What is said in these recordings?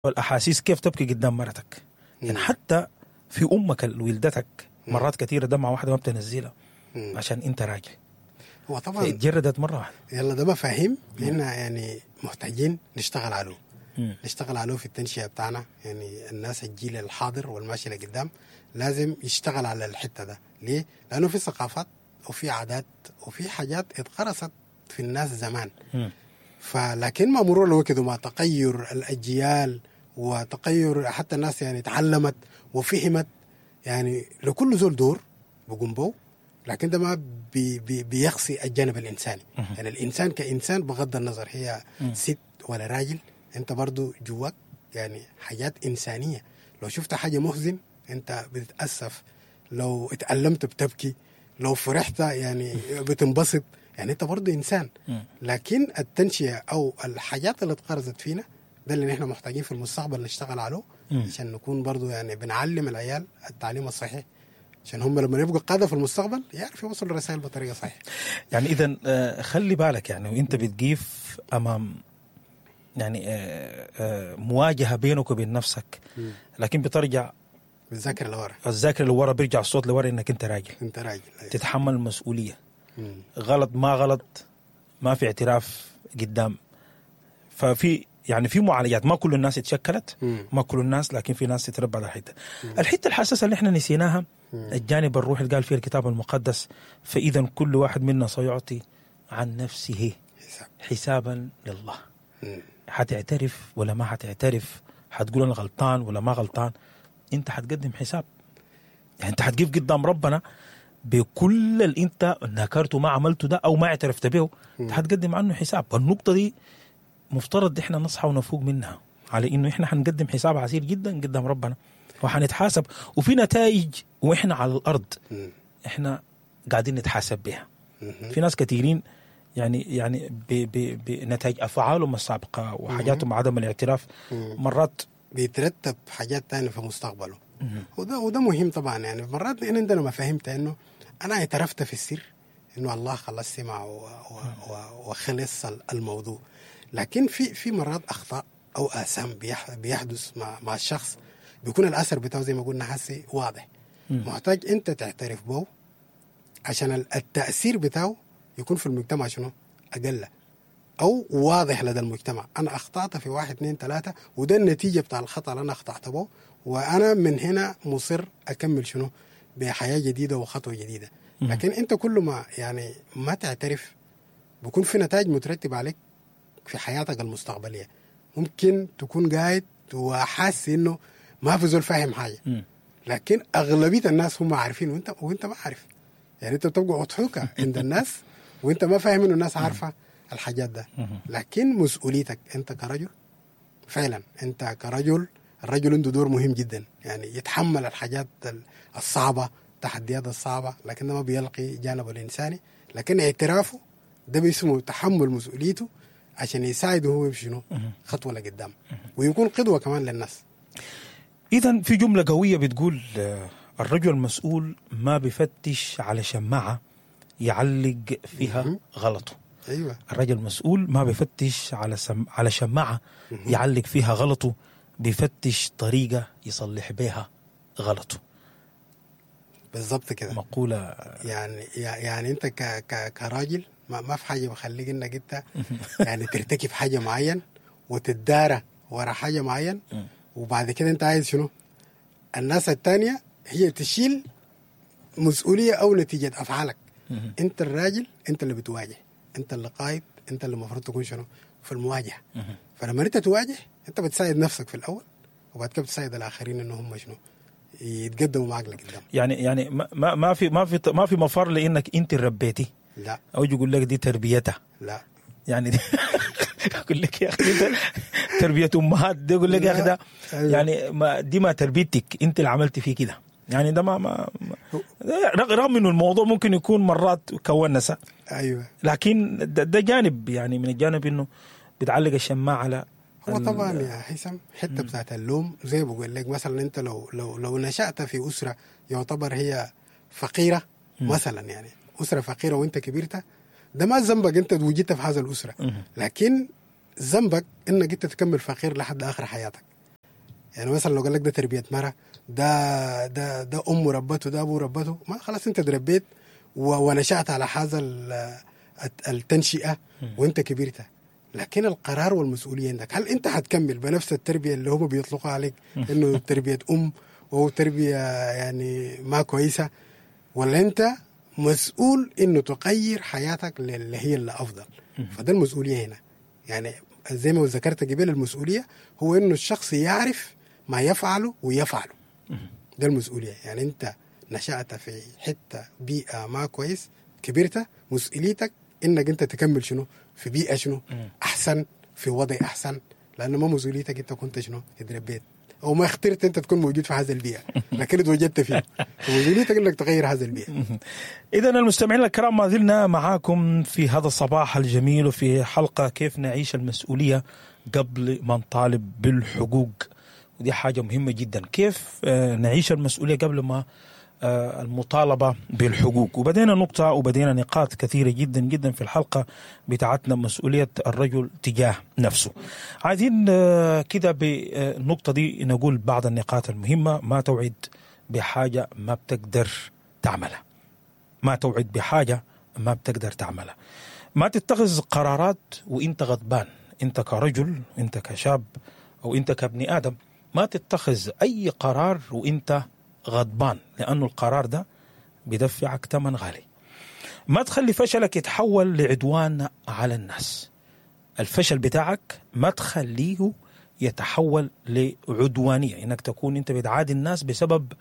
والاحاسيس كيف تبكي قدام مرتك؟ يعني حتى في امك اللي ولدتك مرات كثيرة دمعه واحدة ما بتنزلها عشان انت راجل. هو طبعا اتجردت مرة واحدة. يلا ده مفاهيم احنا يعني محتاجين نشتغل عليه. نشتغل عليه في التنشئه بتاعنا، يعني الناس الجيل الحاضر والماشي لقدام لازم يشتغل على الحتة ده. ليه؟ لانه في ثقافات وفي عادات وفي حاجات اتغرست في الناس زمان. فلكن مع مرور الوقت ومع تغير الاجيال وتغير حتى الناس يعني تعلمت وفهمت، يعني لكل زول دور بقوم به، لكن ده ما بي بي بيخصي الجانب الانساني. يعني الانسان كانسان بغض النظر هي ست ولا راجل، انت برضو جواك يعني حاجات انسانيه. لو شفت حاجة محزن انت بتتاسف، لو اتألمت بتبكي، لو فرحت يعني بتنبسط، يعني انت برضو انسان. لكن التنشئه او الحاجات اللي اتغرزت فينا ده اللي نحن محتاجين في المستقبل نشتغل عليه، عشان نكون برضو يعني بنعلم العيال التعليم الصحيح، عشان هم لما يبقوا قاده في المستقبل يعرفوا يوصلوا الرسائل بطريقة صحيحه. يعني اذا خلي بالك يعني وانت بتقيف امام يعني مواجهة بينك وبين نفسك، لكن بترجع بالذاكرة لورا، الذاكرة لورا، بيرجع الصوت لورا انك انت راجل، انت راجل، أيوة. تتحمل المسؤولية. غلط ما غلط، ما في اعتراف قدام. ففي يعني في معالجات، ما كل الناس اتشكلت، ما كل الناس، لكن في ناس تتربى على الحتة. الحتة الحساسة اللي احنا نسيناها، الجانب الروحي اللي قال فيه الكتاب المقدس، فاذا كل واحد منا سيعطي عن نفسه حسابا لله. حتعترف ولا ما حتعترف؟ حتقول انا غلطان ولا ما غلطان؟ انت حتقدم حساب. يعني انت حتقف قدام ربنا بكل اللي انت نكرته ما عملته ده او ما اعترفت به، انت حتقدم عنه حساب. والنقطة دي مفترض احنا نصحى ونفوق منها، على انه احنا حنقدم حساب عسير جدا قدام ربنا وحنتحاسب، وفي نتائج واحنا على الارض احنا قاعدين نتحاسب بها. في ناس كثيرين يعني بنتائج افعالهم السابقة وحاجاتهم عدم الاعتراف مرات بيترتب حاجات تانية في مستقبله. وده مهم طبعا. يعني مرات لان عندنا مفاهيم انه انا اعترفت في السر انه الله خلاص سمع وخلص الموضوع، لكن في مرات اخطاء او اثام بيحدث مع الشخص، بيكون الاثر بتاعه زي ما قلنا حسي واضح. محتاج انت تعترف به عشان التاثير بتاعه يكون في المجتمع شنو اقل او واضح لدى المجتمع. انا اخطات في 1 2 3 وده النتيجة بتاع الخطا اللي انا اخطات به، وانا من هنا مصر اكمل شنو بحياة جديدة وخطوه جديدة. لكن انت كل ما يعني ما تعترف بيكون في نتائج مترتبة عليك في حياتك المستقبلية. ممكن تكون قاعد وحاسس انه ما في زول فاهم حاجة، لكن اغلبية الناس هم عارفين وانت ما عارف. يعني انت بتبقى اضحوكه عند الناس وانت ما فاهم انه الناس عارفه الحاجات ده. لكن مسؤوليتك انت كرجل، فعلا انت كرجل، الرجل عنده دور مهم جدا، يعني يتحمل الحاجات الصعبة، التحديات الصعبة، لكن ما بيلقي جانبه الانساني. لكن اعترافه ده باسمه تحمل مسؤوليته عشان يساعده هو يمشي شنو خطوة لقدام، ويكون قدوة كمان للناس. اذا في جملة قوية بتقول الرجل المسؤول ما بفتش على شماعة يعلق فيها غلطه. ايوه، الرجل المسؤول ما بفتش على شماعة يعلق فيها غلطه، بيفتش طريقه يصلح بها غلطه. بالضبط كده، مقولة. يعني انت كراجل ما في حاجة بخليك انك انت يعني ترتكب حاجة معين وتدارى ورا حاجة معين، وبعد كده انت عايز شنو الناس التانية هي تشيل مسؤولية او نتيجة افعالك. انت الراجل، انت اللي بتواجه، انت اللي قائد، انت اللي المفروض تكون شنو في المواجهة. فلما انت تواجه انت بتساعد نفسك في الاول، وبعد كده بتساعد الاخرين ان هم شنو يتقدموا معك لقدام. يعني ما في ما في ما في مفر لانك انت اللي ربيتي. لا، او يقول لك دي تربيتها. لا، يعني دي يقول لك يا اخي تربيه امهات دي، يقول لك يا اخي ده يعني ما دي ما تربيتك، انت اللي عملتي فيه كده. يعني ده ما رغم انه الموضوع ممكن يكون مرات كونسه، ايوه، لكن ده جانب يعني من الجانب انه بتعلق الشماعه على هو طبعا يا هيثم حتة بتاعت اللوم زي بقول لك مثلا انت لو لو لو نشأت في اسره يعتبر هي فقيرة مثلا، يعني اسره فقيرة وانت كبرت، ده ما ذنبك انت وجدت في هذا الاسرة، لكن ذنبك انك انت تكمل فقير لحد اخر حياتك. يعني مثلا لو قال لك ده تربيه مرة، ده امه ربته، ده ابوه ربته، ما خلاص انت تربيت ونشأت على هذا التنشئه وانت كبرت. لكن القرار والمسؤولية عندك، هل انت هتكمل بنفس التربية اللي هم بيطلقوا عليك انه تربيه ام وهو تربيه يعني ما كويسة، ولا انت مسؤول انه تغير حياتك اللي هي اللي افضل؟ فده المسؤولية هنا. يعني زي ما ذكرت قبل، المسؤولية هو انه الشخص يعرف ما يفعله ويفعله، ده المسؤولية. يعني انت نشأت في حتة بيئة ما كويس، كبرت، مسؤوليتك انك انت تكمل شنو في بيئة شنو احسن، في وضع احسن، لانه ما مسؤوليتك انت كنت شنو اتربيت او ما اخترت انت تكون موجود في هذا البيئة، لكن اتوجدت فيه، فمسؤوليتك انك تغير هذا البيئة. اذا المستمعين الكرام، ما زلنا معاكم في هذا الصباح الجميل وفي حلقة كيف نعيش المسؤولية قبل ما نطالب بالحقوق، ودي حاجة مهمة جدا، كيف نعيش المسؤولية قبل ما المطالبة بالحقوق. وبدينا نقطة وبدينا نقاط كثيرة جدا جدا في الحلقة بتاعتنا، مسؤولية الرجل تجاه نفسه. عايزين كده بالنقطة دي نقول بعض النقاط المهمة. ما توعد بحاجة ما بتقدر تعملها، ما توعد بحاجة ما بتقدر تعملها. ما تتخذ قرارات وانت غضبان، انت كرجل، انت كشاب، او انت كابن آدم، ما تتخذ اي قرار وانت غضبان، لأنه القرار ده بدفعك ثمن غالي. ما تخلي فشلك يتحول لعدوان على الناس. الفشل بتاعك ما تخليه يتحول لعدوانية، إنك تكون أنت بتعادي الناس بسبب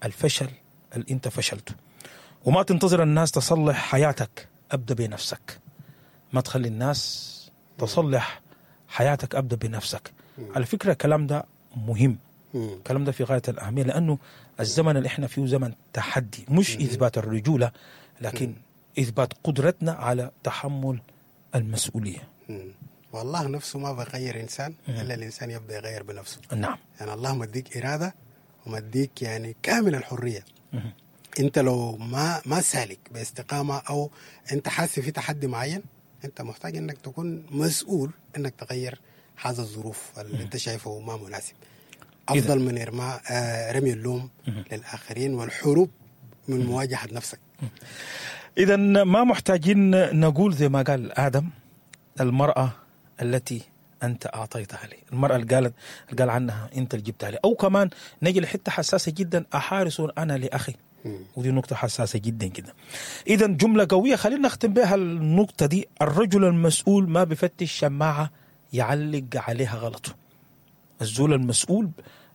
الفشل اللي أنت فشلته. وما تنتظر الناس تصلح حياتك، أبدأ بنفسك. ما تخلي الناس تصلح حياتك، أبدأ بنفسك. على فكرة الكلام ده مهم، الكلام ده في غاية الأهمية، لأنه الزمن اللي احنا فيه زمن تحدي، مش إثبات الرجولة، لكن إثبات قدرتنا على تحمل المسؤولية. والله نفسه ما بغير إنسان إلا الإنسان يبدأ يغير بنفسه. نعم. يعني الله مديك إرادة ومديك يعني كامل الحرية. أنت لو ما سالك باستقامة أو أنت حاسس في تحدي معين، أنت محتاج أنك تكون مسؤول أنك تغير هذا الظروف اللي أنت شايفه ما مناسب. أفضل من رمي اللوم للآخرين والحروب من مواجهة نفسك. إذا ما محتاجين نقول زي ما قال آدم، المرأة التي أنت أعطيتها لي، المرأة اللي قال عنها أنت اللي جبتها لي. أو كمان نجي لحتة حساسة جدا، أحارس أنا لأخي، ودي نقطة حساسة جدا جدا. إذا جملة قوية خلينا نختم بها النقطة دي. الرجل المسؤول ما بفتش شماعة يعلق عليها غلطه. الزول المسؤول،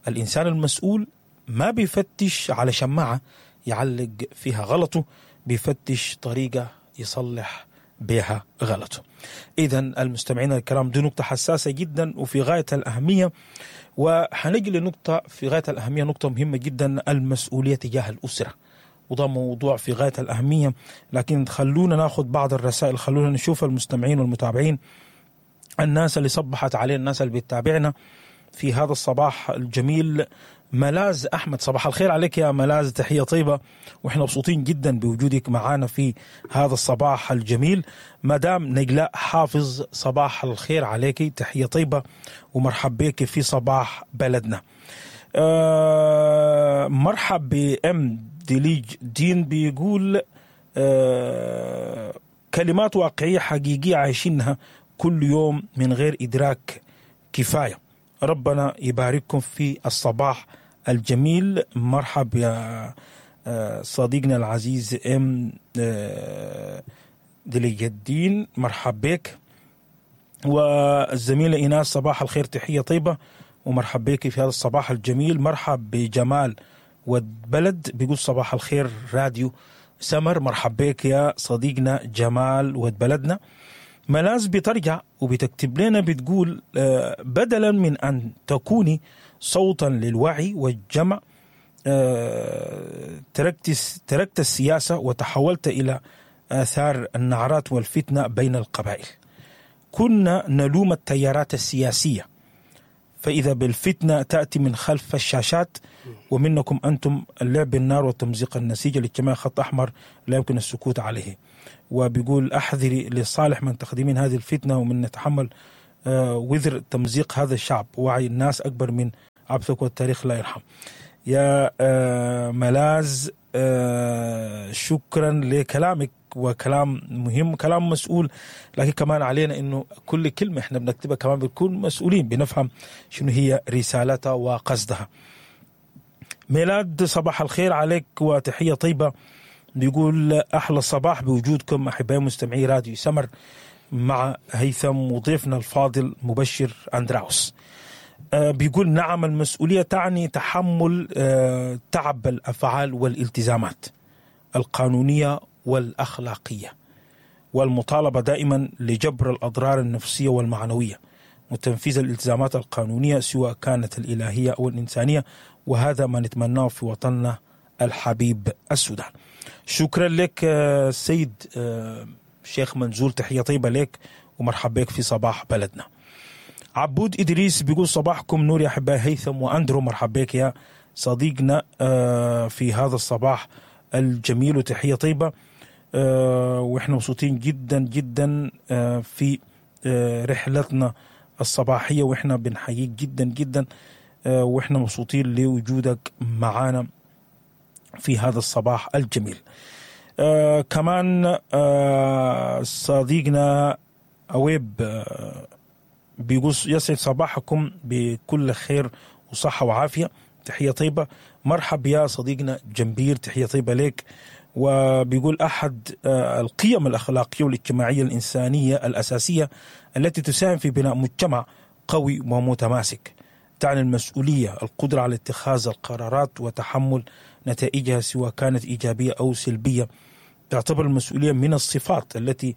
الإنسان المسؤول ما بيفتش على شماعة يعلق فيها غلطه، بيفتش طريقة يصلح بها غلطه. إذا المستمعين الكرام، دي نقطة حساسة جدا وفي غاية الأهمية. وحنجي لنقطة في غاية الأهمية، نقطة مهمة جدا، المسؤولية تجاه الأسرة، وده موضوع في غاية الأهمية. لكن خلونا ناخذ بعض الرسائل، خلونا نشوف المستمعين والمتابعين، الناس اللي صبحت علينا، الناس اللي بتتابعنا في هذا الصباح الجميل. ملاذ أحمد، صباح الخير عليك يا ملاذ، تحية طيبة، وإحنا مبسوطين جدا بوجودك معانا في هذا الصباح الجميل. مدام نجلاء حافظ، صباح الخير عليك، تحية طيبة ومرحب بك في صباح بلدنا. مرحب بأم ديليج دين، بيقول كلمات واقعية حقيقية عايشينها كل يوم من غير إدراك كفاية. ربنا يبارككم في الصباح الجميل. مرحب يا صديقنا العزيز ام دليج الدين، مرحب بك. والزميلة إيناس، صباح الخير، تحية طيبة ومرحب بك في هذا الصباح الجميل. مرحب بجمال والبلد، بيقول صباح الخير راديو سمر، مرحب بك يا صديقنا جمال ود بلدنا. ملاذ بترجع وبتكتب لنا بتقول بدلا من أن تكوني صوتا للوعي والجمع، تركت السياسة وتحولت إلى آثار النعرات والفتنة بين القبائل. كنا نلوم التيارات السياسية، فإذا بالفتنة تأتي من خلف الشاشات، ومنكم أنتم اللعب بالنار وتمزيق النسيج الاجتماعي، خط أحمر لا يمكن السكوت عليه. وبيقول أحذري لصالح من تخدمين هذه الفتنة ومن نتحمل وذر تمزيق هذا الشعب. وعي الناس أكبر من عبثك والتاريخ لا يرحم. يا ملاذ، شكرا لكلامك، وكلام مهم، كلام مسؤول، لكن كمان علينا انه كل كلمة احنا بنكتبها كمان بنكون مسؤولين، بنفهم شنو هي رسالتها وقصدها. ميلاد صباح الخير عليك وتحية طيبة. بيقول احلى صباح بوجودكم احبائي مستمعي راديو سمر مع هيثم وضيفنا الفاضل مبشر اندراوس. بيقول نعم، المسؤولية تعني تحمل تعب الافعال والالتزامات القانونية والاخلاقية، والمطالبة دائما لجبر الاضرار النفسية والمعنوية وتنفيذ الالتزامات القانونية سواء كانت الالهية او الانسانية، وهذا ما نتمناه في وطننا الحبيب السودان. شكرا لك سيد شيخ منزول، تحية طيبة لك ومرحبا بك في صباح بلدنا. عبود إدريس بيقول صباحكم نور يا أحبائي هيثم وأندرو، مرحبا بك يا صديقنا في هذا الصباح الجميل وتحية طيبة. وإحنا مبسوطين جدا جدا في رحلتنا الصباحية، وإحنا بنحييك جدا جدا، وإحنا مبسوطين لوجودك معانا في هذا الصباح الجميل. كمان صديقنا أويب بيقول يسعد صباحكم بكل خير وصحة وعافية، تحية طيبة. مرحب يا صديقنا جنبير، تحية طيبة لك. وبيقول أحد القيم الأخلاقية والاجتماعية الإنسانية الأساسية التي تساهم في بناء مجتمع قوي ومتماسك تعني المسؤولية، القدرة على اتخاذ القرارات وتحمل نتائجها سواء كانت إيجابية أو سلبية. تعتبر المسؤولية من الصفات التي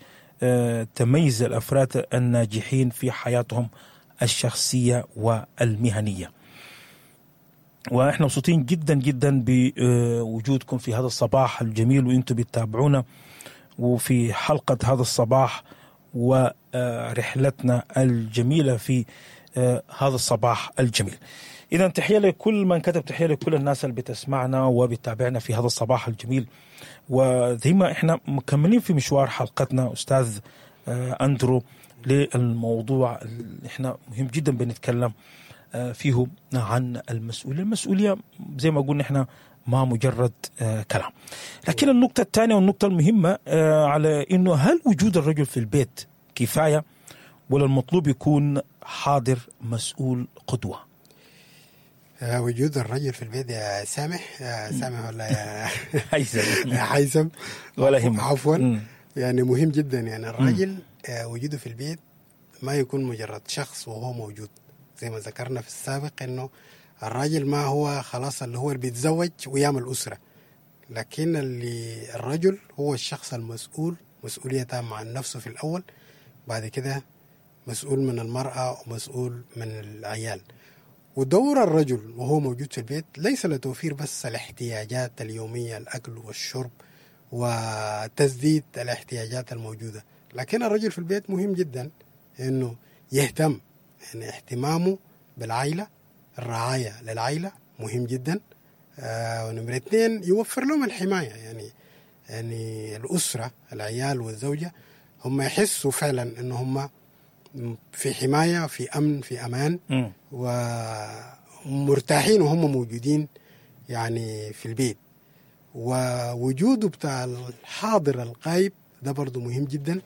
تميز الأفراد الناجحين في حياتهم الشخصية والمهنية. وإحنا مبسوطين جدا جدا بوجودكم في هذا الصباح الجميل وإنتم بتتابعونا وفي حلقة هذا الصباح ورحلتنا الجميلة في هذا الصباح الجميل. إذا تحية لكل من كتب، تحية لكل الناس اللي بتسمعنا وبتتابعنا في هذا الصباح الجميل. وزي ما إحنا مكملين في مشوار حلقتنا أستاذ أندرو للموضوع اللي إحنا مهم جدا بنتكلم فيه عن المسؤولية. المسؤولية زي ما قلنا إحنا ما مجرد كلام. لكن النقطة الثانية والنقطة المهمة على إنه هل وجود الرجل في البيت كفاية ولا المطلوب يكون حاضر مسؤول قدوة؟ وجود الرجل في البيت يا سامح، يا سامح ولا يا هيثم ولا يهمك، عفوا، يعني مهم جدا. يعني الرجل وجوده في البيت ما يكون مجرد شخص وهو موجود، زي ما ذكرنا في السابق انه الراجل ما هو خلاص اللي هو اللي بيتزوج ويعمل أسرة، لكن اللي الرجل هو الشخص المسؤول مسؤولية تامة عن نفسه في الأول، بعد كده مسؤول من المرأة ومسؤول من العيال. ودور الرجل وهو موجود في البيت ليس لتوفير بس الاحتياجات اليومية، الأكل والشرب وتسديد الاحتياجات الموجودة، لكن الرجل في البيت مهم جدا إنه يهتم، يعني اهتمامه بالعائلة، الرعاية للعائلة مهم جدا. ونمرة 2 يوفر لهم الحماية، يعني الأسرة، العيال والزوجة هم يحسوا فعلا إنه هم في حماية، في أمن، في أمان، ومرتاحين وهم موجودين يعني في البيت. ووجوده بتاع الحاضر الغايب ده برضو مهم جدا،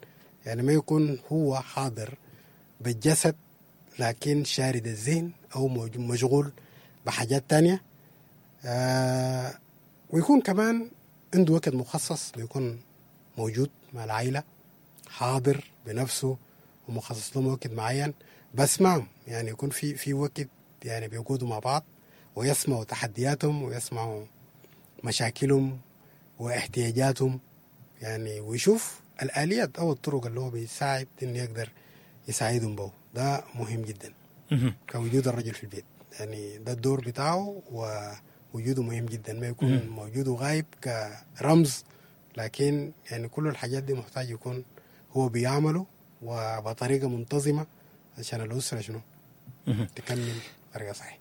يعني ما يكون هو حاضر بالجسد لكن شارد الذهن أو مشغول بحاجات تانية. ويكون كمان عنده وقت مخصص بيكون موجود مع العائلة، حاضر بنفسه ومخصص لهم وقت معين بس معهم، يعني يكون في وقت يعني بيقعدوا مع بعض ويسمعوا تحدياتهم ويسمعوا مشاكلهم واحتياجاتهم، يعني ويشوف الآليات أو الطرق اللي هو بيساعد إنه يقدر يساعدهم به. ده مهم جدا كوجود الرجل في البيت، يعني ده الدور بتاعه ووجوده مهم جدا، ما يكون موجود وغايب كرمز، لكن يعني كل الحاجات دي محتاج يكون هو بيعمله وبطريقة منتظمة عشان الأسرة شنو تكمل بطريقة صحيحة.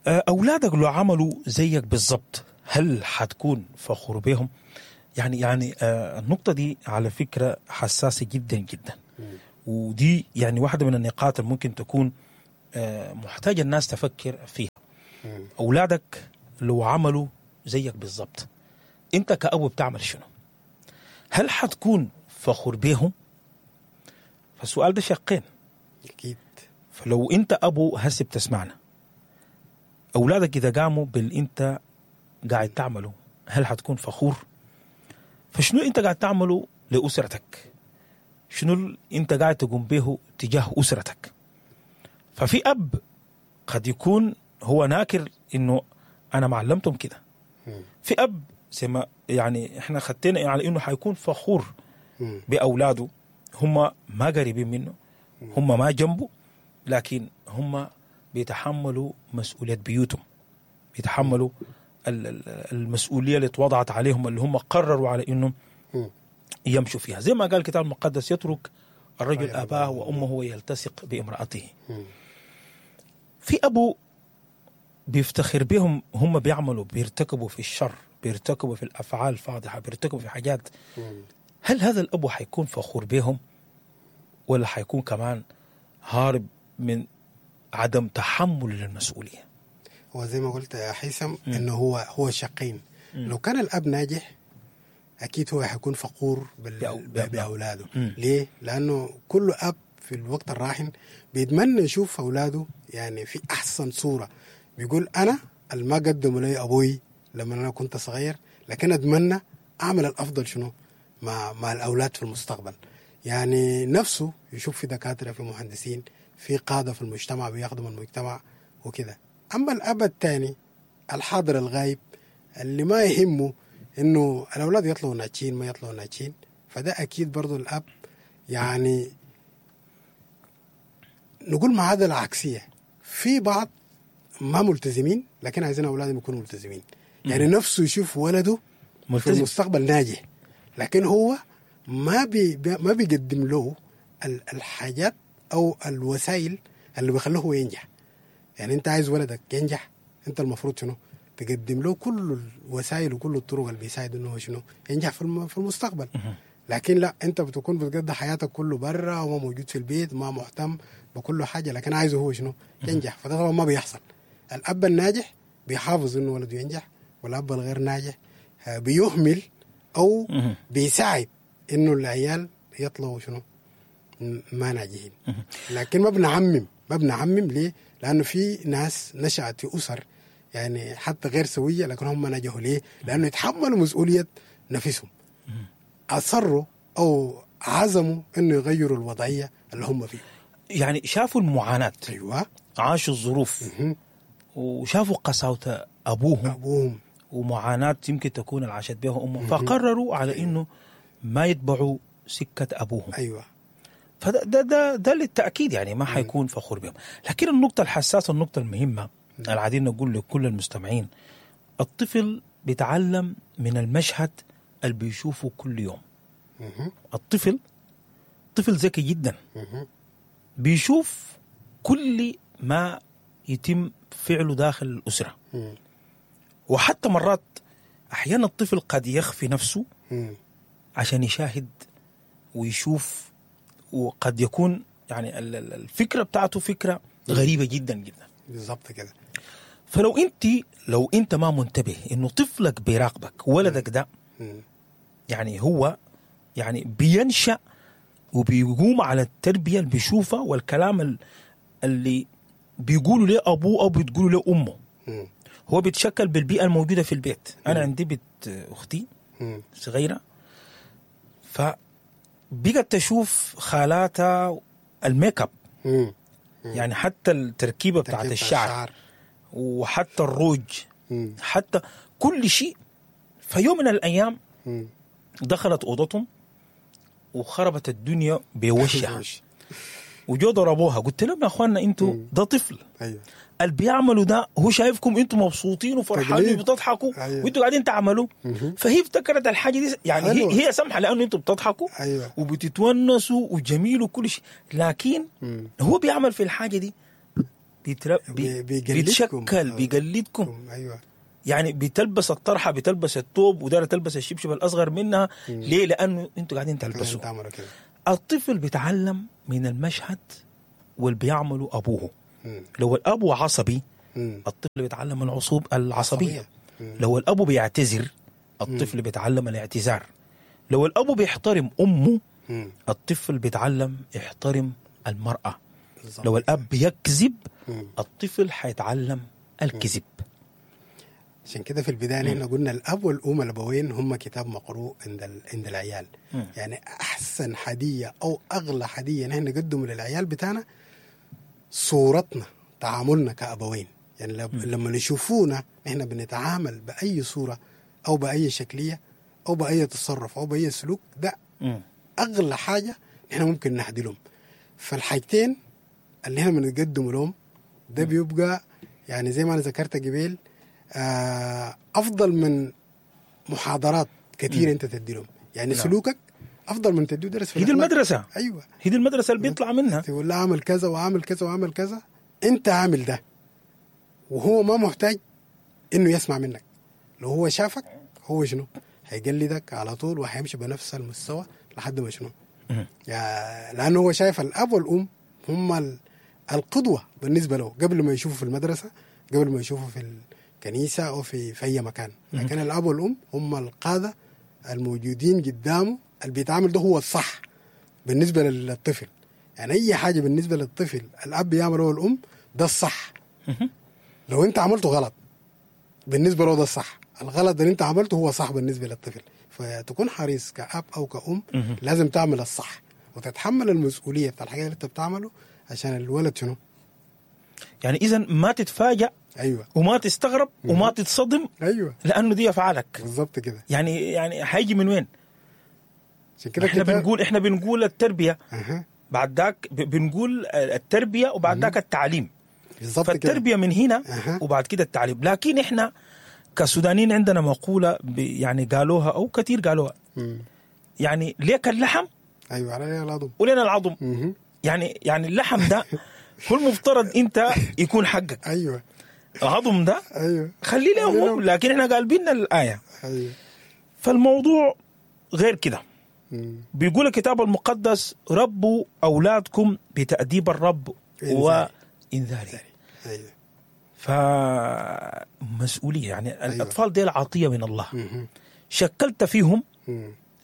أولادك لو عملوا زيك بالضبط هل حتكون فخور بهم؟ يعني النقطة دي على فكرة حساسة جدا جدا، ودي يعني واحدة من النقاط اللي ممكن تكون محتاجة الناس تفكر فيها. اولادك لو عملوا زيك بالظبط، انت كأبو بتعمل شنو؟ هل حتكون فخور بيهم؟ فالسؤال ده شقين. اكيد. فلو انت ابو هسه بتسمعنا، اولادك اذا قاموا باللي انت قاعد تعمله، هل حتكون فخور؟ فشنو انت قاعد تعمله لاسرتك؟ شنو انت قاعد تقوم به تجاه اسرتك؟ ففي اب قد يكون هو ناكر انه انا ما علمتهم كده. في اب زي ما يعني احنا خدتنا على انه حيكون فخور باولاده، هم ما قريبين منه، هم ما جنبه، لكن هم بيتحملوا مسؤولية بيوتهم، بيتحملوا المسؤولية اللي اتوضعت عليهم، اللي هم قرروا على انه يمشوا فيها. زي ما قال الكتاب المقدس: يترك الرجل اباه وامه ويلتصق بامرأته. في ابو بيفتخر بهم، هم بيعملوا، بيرتكبوا في الشر، بيرتكبوا في الافعال الفاضحه، بيرتكبوا في حاجات. هل هذا الابو حيكون فخور بهم، ولا حيكون كمان هارب من عدم تحمل للمسؤولية؟ هو زي ما قلت يا هيثم انه هو شقين. لو كان الاب ناجح اكيد هو حيكون فخور باولاده. ليه؟ لانه كل اب في الوقت الراهن بيتمنى يشوف اولاده يعني في احسن صوره. بيقول انا ما قدموا لي ابوي لما انا كنت صغير، لكن اتمنى اعمل الافضل شنو مع الاولاد في المستقبل. يعني نفسه يشوف في دكاترة، في مهندسين، في قاده في المجتمع بيخدموا المجتمع وكده. اما الاب الثاني الحاضر الغايب اللي ما يهمه انه الاولاد يطلعوا ناجحين ما يطلعوا ناجحين، فده اكيد برضو الاب يعني نقول معادلة عكسية. في بعض ما ملتزمين لكن عايزين اولادهم يكونوا ملتزمين. يعني نفسه يشوف ولده ملتزم في المستقبل ناجح، لكن هو ما بيقدم له الحاجات او الوسائل اللي بيخلوه هو ينجح. يعني انت عايز ولدك ينجح، انت المفروض شنو؟ تقدم له كل الوسائل وكل الطرق اللي بيساعد انه هو شنو ينجح في المستقبل. لكن لا، انت بتكون بتقضي حياتك كله برا وما موجود في البيت، ما مهتم بكل حاجة، لكن عايزه هو شنو ينجح. فده طبعا ما بيحصل. الاب الناجح بيحافظ انه ولده ينجح، والاب الغير ناجح بيهمل او بيساعد انه العيال يطلعوا شنو ما ناجحين. لكن ما بنعمم ليه؟ لانه في ناس نشأت في اسر يعني حتى غير سويه، لكن هم نجحوا. ليه؟ لانه يتحملوا مسؤولية نفسهم، اصروا او عزموا انه يغيروا الوضعية اللي هم فيها. يعني شافوا المعاناة، ايوه، عاشوا الظروف، وشافوا قساوه ابوهم ومعاناة يمكن تكون عاشت بها امهم، فقرروا على انه ما يتبعوا سكة ابوهم. ايوه، فده ده ده, ده للتاكيد يعني ما حيكون فخور بهم. لكن النقطة الحساسة، النقطة المهمة العادين نقول لكل المستمعين، الطفل بيتعلم من المشهد اللي بيشوفه كل يوم. الطفل طفل ذكي جدا، بيشوف كل ما يتم فعله داخل الأسرة. وحتى مرات أحيانا الطفل قد يخفي نفسه عشان يشاهد ويشوف، وقد يكون يعني الفكرة بتاعته فكرة غريبة جدا جدا. بالضبط كده. فلو لو انت ما منتبه انه طفلك بيراقبك، ولدك ده يعني هو يعني بينشأ وبيقوم على التربية اللي بيشوفها والكلام اللي بيقولوا له أبوه أو بتقولوا له أمه. هو بيتشكل بالبيئة الموجودة في البيت. أنا عندي بنت أختي صغيرة، فبقت تشوف خالاتها الميك اب، يعني حتى التركيبة بتاعت الشعر وحتى الروج، حتى كل شيء. فيوم من الأيام دخلت أوضتهم وخربت الدنيا بوشها، وجو ضربوها. قلت لهم يا أخواننا أنتوا ده طفل، أيوة. اللي بيعملوا ده هو شايفكم أنتوا مبسوطين وفرحانين وبتضحكوا، أيوة. وأنتوا قاعدين تعملوا. فهي افتكرت الحاجة دي يعني هي سامحة لأنه أنتوا بتضحكوا، أيوة. وبتتونسوا وجميل وكل شيء، لكن هو بيعمل في الحاجة دي بيتشكل، بيقلدكم. أيوة. يعني بتلبس الطرحة، بتلبس الثوب، ودارة تلبس الشبشب الأصغر منها. ليه؟ لأنه أنتوا قاعدين تلبسوا. الطفل بيتعلم من المشهد واللي بيعمله أبوه. لو الأب عصبي الطفل بيتعلم العصبية. لو الأب بيعتذر، الطفل بيتعلم الاعتذار. لو الأب بيحترم أمه، الطفل بيتعلم يحترم المرأة. لو الأب بيكذب، الطفل حيتعلم الكذب. عشان كده في البداية نحن قلنا الأب والأم الأبوين هم كتاب مقروء عند العيال. يعني أحسن هدية أو أغلى هدية نحن نقدمه للعيال بتاعنا صورتنا، تعاملنا كأبوين. يعني لما يشوفونا نحن بنتعامل بأي صورة أو بأي شكلية أو بأي تصرف أو بأي سلوك، ده أغلى حاجة نحن ممكن نهدي لهم. فالحاجتين اللي احنا بنقدمه لهم ده بيبقى يعني زي ما أنا ذكرت قبل أفضل من محاضرات كثيرة أنت تدي لهم. يعني سلوكك أفضل من تديه درس في هي دي المدرسة. أيوة، هي دي المدرسة اللي بيطلع منها. تقول له أعمل كذا وأعمل كذا وأعمل كذا، أنت عامل ده، وهو ما محتاج إنه يسمع منك. لو هو شافك هو شنو هيقلدك على طول وهيمشي بنفس المستوى لحد ما شنو يعني، لأنه هو شايف الأب والأم هم القدوة بالنسبة له قبل ما يشوفه في المدرسة، قبل ما يشوفه في الكنيسة أو في أي مكان. لكن الأب والأم هم القادة الموجودين قدامه، اللي بيتعامل ده هو الصح بالنسبة للطفل. يعني أي حاجة بالنسبة للطفل الأب يعمله والأم ده الصح. لو أنت عملته غلط بالنسبة له ده الصح، الغلط اللي أنت عملته هو صح بالنسبة للطفل. فتكون حريص كأب أو كأم، لازم تعمل الصح وتتحمل المسؤولية بتاع الحاجة اللي أنت بتعمله عشان الولد شنو. يعني إذا ما تتفاجأ، أيوة، وما تستغرب وما تتصدم، أيوة، لأنه دي أفعالك بالضبط كده. يعني هيجي من وين؟ كده احنا بنقول التربية، بعد ذاك بنقول التربية وبعد ذاك التعليم. بالضبط. فالتربية من هنا وبعد كده التعليم. لكن احنا كسودانيين عندنا مقولة يعني قالوها أو كثير قالوها، يعني ليك اللحم، أيوة، علينا العظم ولنا العظم. يعني اللحم ده هو المفترض أنت يكون حقك. أيوة، العظم ده، أيوة، خلي لهم، لكن احنا قالبين الآية. أيوة. فالموضوع غير كده. بيقول الكتاب المقدس ربوا أولادكم بتأديب الرب وإنذاره. أيوة. فمسؤولية يعني. أيوة. الأطفال دي العطية من الله. شكلت فيهم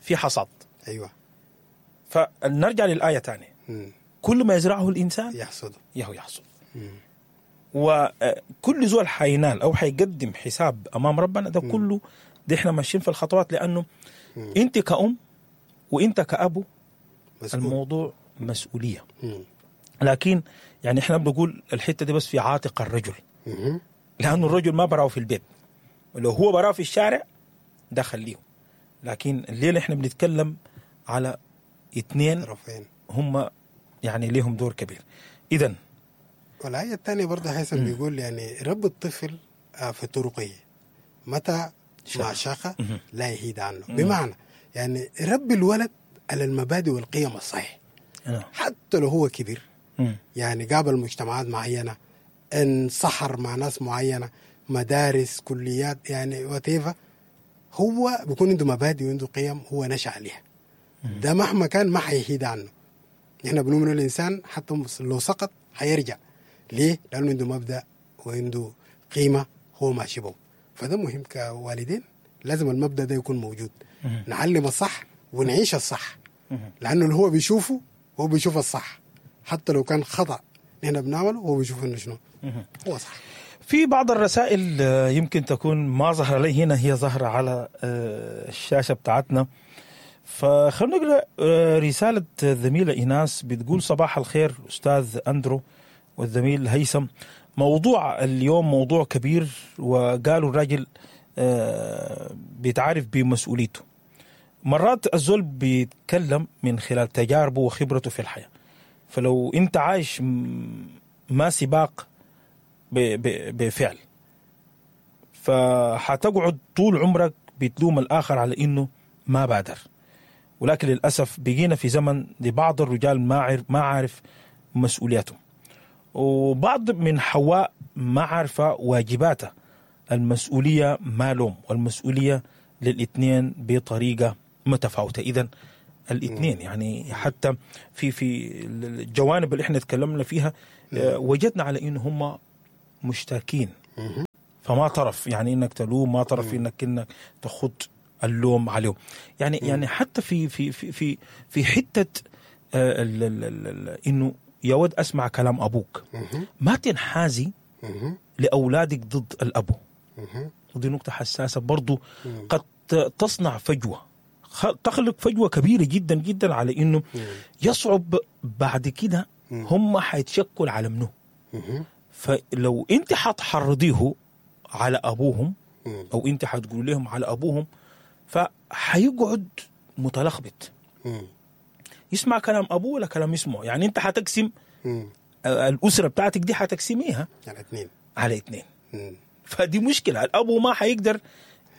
في حصاد. أيوة. فنرجع للآية تاني. كل ما يزرعه الإنسان يحصد يحصد. وكل زول حينال أو حيقدم حساب أمام ربنا ده كله. ده إحنا ماشيين في الخطوات، لأنه أنت كأم وأنت كأبو مسؤول. الموضوع مسؤولية. لكن يعني إحنا بنقول الحتة دي بس في عاتق الرجل، لأنه الرجل ما براه في البيت، ولو هو براه في الشارع ده خليه. لكن الليلة إحنا بنتكلم على اثنين هم يعني ليهم دور كبير. إذن والآية الثانية برضه هيثم بيقول يعني رب الطفل في طرقه متى مع شاقة لا يهيد عنه. بمعنى يعني رب الولد على المبادئ والقيم الصحيح حتى لو هو كبير. يعني قابل مجتمعات معينة، انصحر مع ناس معينة، مدارس، كليات، يعني وتيفا، هو بيكون عنده مبادئ وعنده قيم هو نشأ عليها. ده مهما كان ما حيهيد عنه. احنا بنؤمن الإنسان حتى لو سقط حيرجع. ليه؟ لأنه عنده مبدأ وعنده قيمة هو ماشي به. فده مهم كوالدين، لازم المبدأ ده يكون موجود. نعلم الصح ونعيش الصح، لأنه اللي هو بيشوفه هو بيشوف الصح حتى لو كان خطأ نحن بنعمله هو بيشوف إنه شنو هو صح. في بعض الرسائل يمكن تكون ما ظهر لي هنا، هي ظاهرة على الشاشة بتاعتنا. فخلونا نقرأ رسالة الزميلة إيناس، بتقول صباح الخير أستاذ أندرو والزميل هيثم. موضوع اليوم موضوع كبير، وقالوا الراجل بيتعرف بمسؤوليته. مرات الزول بيتكلم من خلال تجاربه وخبرته في الحياة، فلو انت عايش ما سباق بفعل، فحتقعد طول عمرك بتلوم الآخر على إنه ما بادر. ولكن للأسف بقينا في زمن لبعض الرجال ما عارف مسؤوليته، وبعض من حواء ما عارفة واجباته. المسؤولية ما لوم، والمسؤولية للاثنين بطريقة متفاوتة. إذن الاثنين يعني حتى في الجوانب اللي احنا تكلمنا فيها وجدنا على إنه هم مشتركين. فما طرف يعني انك تلوم، ما طرف انك تخط اللوم عليهم. يعني حتى في في في في في حتة انه يا ود اسمع كلام ابوك، ما تنحازي لاولادك ضد الابو. ودي نقطة حساسة برضو، قد تصنع فجوة، تخلق فجوة كبيرة جدا جدا على انه يصعب بعد كده هم حيتشكل على منه. فلو انت حتحرضيه على ابوهم او انت حتقول لهم على ابوهم، فحيقعد متلخبط، يسمع كلام ابوه ولا كلام اسمه. يعني انت حتقسم الاسرة بتاعتك دي، حتقسميها على اثنين، على اثنين. فدي مشكلة، الابو ما حيقدر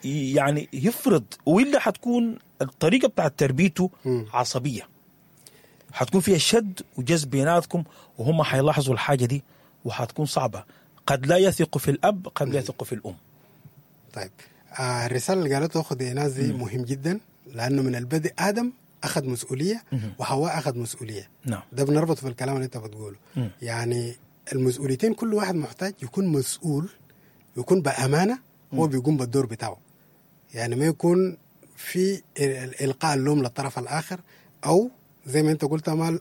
يعني يفرض، والا حتكون الطريقة بتاعت تربيته عصبية، حتكون فيها شد وجذب بيناتكم، وهم حيلاحظوا الحاجة دي وحتكون صعبة. قد لا يثق في الاب، قد لا يثق في الام. طيب الرسالة اللي قالته اخت ايناس دي مهم جدا، لانه من البدء ادم اخذ مسؤولية وحواء اخذ مسؤولية. نعم. ده بنربط في الكلام اللي انت بتقوله. يعني المسؤوليتين كل واحد محتاج يكون مسؤول، يكون بامانه هو بيقوم بالدور بتاعه. يعني ما يكون في القاء اللوم للطرف الاخر، او زي ما انت قلت مال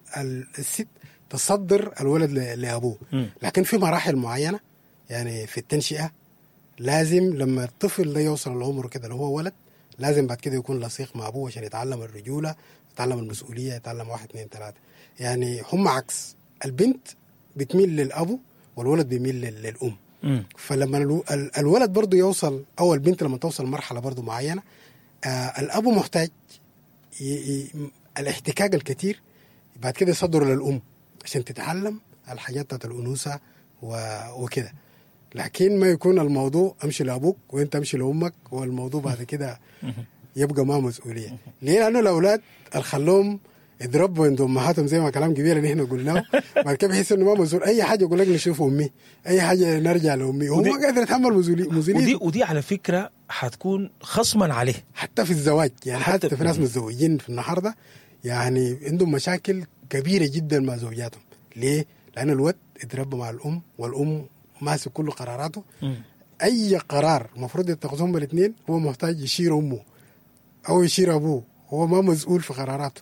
الست تصدر الولد لابوه. لكن في مراحل معينة يعني في التنشئه، لازم لما الطفل ده يوصل لعمره كده اللي هو ولد، لازم بعد كده يكون لصيق مع ابوه عشان يتعلم الرجولة، يتعلم المسؤولية، يتعلم 1 2 3. يعني هم عكس، البنت بتميل للابو والولد بيميل للام. فلما الولد برضه يوصل، او البنت لما توصل مرحلة برضه معينة، الابو محتاج الاحتكاك الكثير بعد كده يصدر للام عشان تتعلم الحاجات بتاعت الانوثة وكده. لكن ما يكون الموضوع امشي لابوك وانت امشي لامك، والموضوع بعد كده يبقى ما مسؤولية. ليه؟ لانه الاولاد الخلوهم يضربوا عند امهاتهم زي ما كلام كبير اللي احنا قلناه، بعد كده بيحس انه ما مسؤول. اي حاجة يقول لك نشوف امي، اي حاجة نرجع لامي، وهو ما قادر يتحمل مسؤولية. ودي على فكرة حتكون خصما عليه حتى في الزواج. يعني حتى في ناس متزوجين في النهارده يعني عندهم مشاكل كبيرة جدا مع زوجاتهم. ليه؟ لان الولد اتربى مع الام، والام ماسك كل قراراته. اي قرار المفروض يتخذهم الاثنين هو محتاج يشير امه او يشير ابوه، هو ما مسؤول في قراراته.